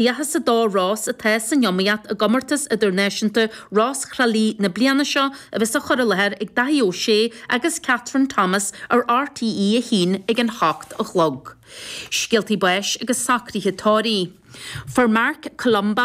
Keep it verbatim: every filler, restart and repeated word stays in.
Tríocha is a dó rós atá san iomaíocht i gcomórtas idirnáisiúnta Rós Thrá Lí na bliana seo a bheas á chur i láthair ag Daithí Ó Sé agus Catherine Thomas ar RTÉ a haon ag an hocht a chlog. Scéaltaí báis agus socruithe tórraimh. Fuair Mark Columba